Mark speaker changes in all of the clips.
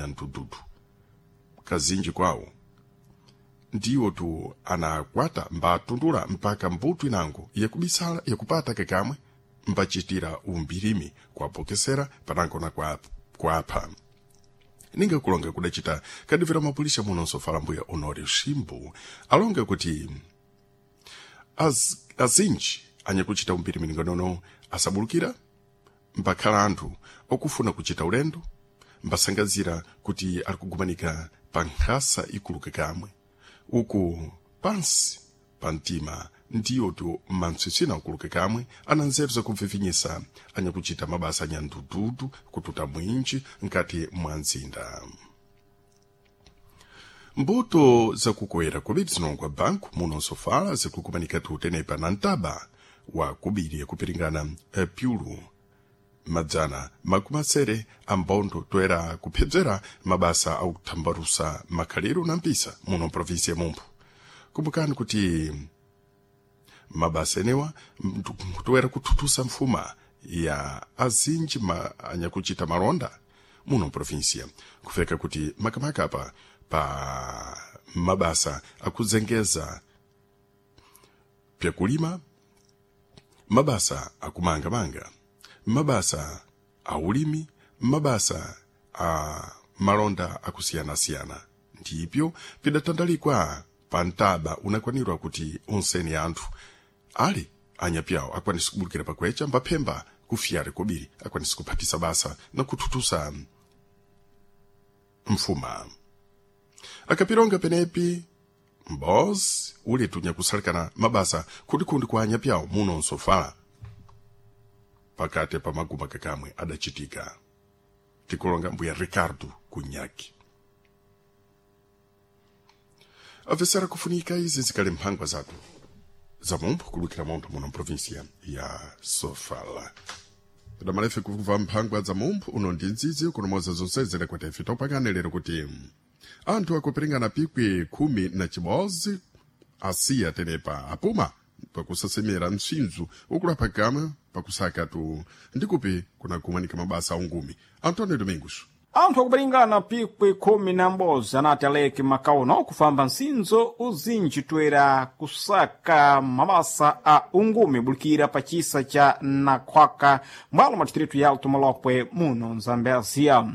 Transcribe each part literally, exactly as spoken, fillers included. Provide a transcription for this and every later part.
Speaker 1: nyandududu kazinji kwawo ndiwo tu anakwata mbatundula mpaka mbuto inango yakubisala yakupata kakamwe mbachitira umbirimi kwapokesera panango na kwa kwapha ninga kulonga kudacita kadivira mapulisha muno nsofala mbuya Honório Shimbu alonga kuti az, azinji anyakuchita umbirimi ningonono asabulukira mbakhala anthu okufuna kuchita ulendo mbasangazira kuti ali kugumanika pa nkhasa ikuluka kamwe uku pansi pa mtima ndiyo tu mantswitswina ukuluka kamwe ana nzeru zakubvivinyisa anyakuchita mabasa anyandududu kututa mwinji nkati mwa mzinda. Mbuto zakukoera kubiri zinongwa banku muno nsofala zikukumanika tutenepa na ntaba wa kubiri yakupiringana eh, pyulu madzana makumi asere ambondo toera kuphedzera mabasa akuthambalusa makhaliro na mpisa muno provinsi ya Mumphu. Kumbukani kuti mabasa enewa toera kuthuthusa mfuma ya azinji ma, anyakuchita malonda muno provinsia kufeka kuti makamaka apa pa mabasa akuzengeza pyakulima, mabasa akumangamanga, mabasa a ulimi, mabasa a malonda akusiyanasiyana ndipyo pidatandalikwa pa ntaba unakwanirwa kuti onseni anthu ali anyapyawo akwanise kubulukira pakwecha mbaphemba kufiyari kobiri akwanise kuphatisa basa na kuthuthusa mfuma. Akapilonga penepi mbozi uletu nyakusalikana mabasa kundikundi kwa anyapyawo muno nsofala pakati pa maguma kakamwe adachitika tikulonga mbuya Ricardo Kunyaki. Avesera kufunika izi zikali mphangwa zathu za Mumphu kulukira munthu muno mprovinsia ya Sofala. Padamalefe kumva mphangwa za Mumphu uno ndi nzizi kunomoza zonse zilekwete topangane lero kuti anthu akupiringana pikwi khumi na chibodzi asiya tenepa apuma pakusasemera mtsinzo ukulapha kamwe pakusaka tu ndikupi kunakumanika mabasa aungumi. Antonio Domingos.
Speaker 2: Anthu akupiringana pikwi khumi na m'bodzi anati aleke makauno kufamba msinzo uzinji toera kusaka mabasa a ungumi bulikira pa chisa cha Nakhwaka mwalo mwa distritu ya Alto Molokwe muno Mzambezia.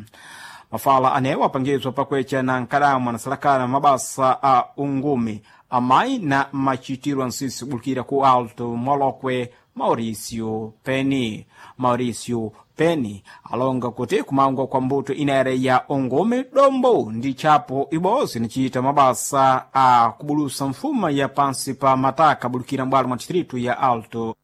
Speaker 2: Mafala anewo apangizwa pakwecha na nkadamu anasalakana mabasa a ungumi amayi na machitiro ansisi kubulikira ku Alto Molokwe Mauricio Penny. Mauricio Penny alonga kuti kumangwa kwa mbuto inere ya ungumi dombo ndi chapo ibodzi nichita mabasa a kubulusa mfuma ya pansi pa mataka bulikira mbwalo mwa distritu ya Alto